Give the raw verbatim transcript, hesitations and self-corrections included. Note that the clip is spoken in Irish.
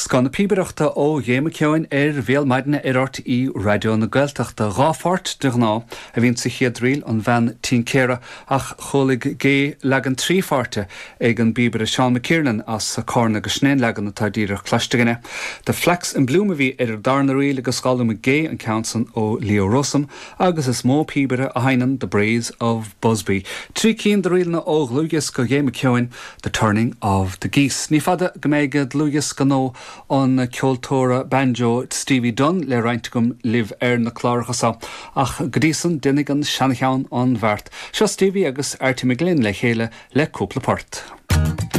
Scoth na píobaireachta ó Ghé McKeown ar Bhéal Maidine ar R T É Raidió na Gaeltachta. Dhá pháirt de ghnáth a bhíonn sa chéad ríl, An Bhean Tincéara, ach chuala Gé leagan trí pháirte ag an bpíobaire Seán McKiernan as Cárna agus sin é an leagan atá díreach cloiste againne. The Flax in Bloom a bhí ar an darna ríl agus d'fhoghlaim Gé an ceann san ó Leo Rowsome agus is mó píobaire a sheinneann The Braes of Busby. Trí cinn de ríleanna ó dhlúthdhiosca Ghé McKeown, The Turning of the Geese. Ní fada go mbeidh dlúthdhiosca nua an ceoltóra banjo Stevie Dunn le roinnt agam libh ar na cláracha seo, ach go dtí san déanfaidh an seancheann an bheart. Seo Stevie agus Artie McGlynn le chéile le cúpla port.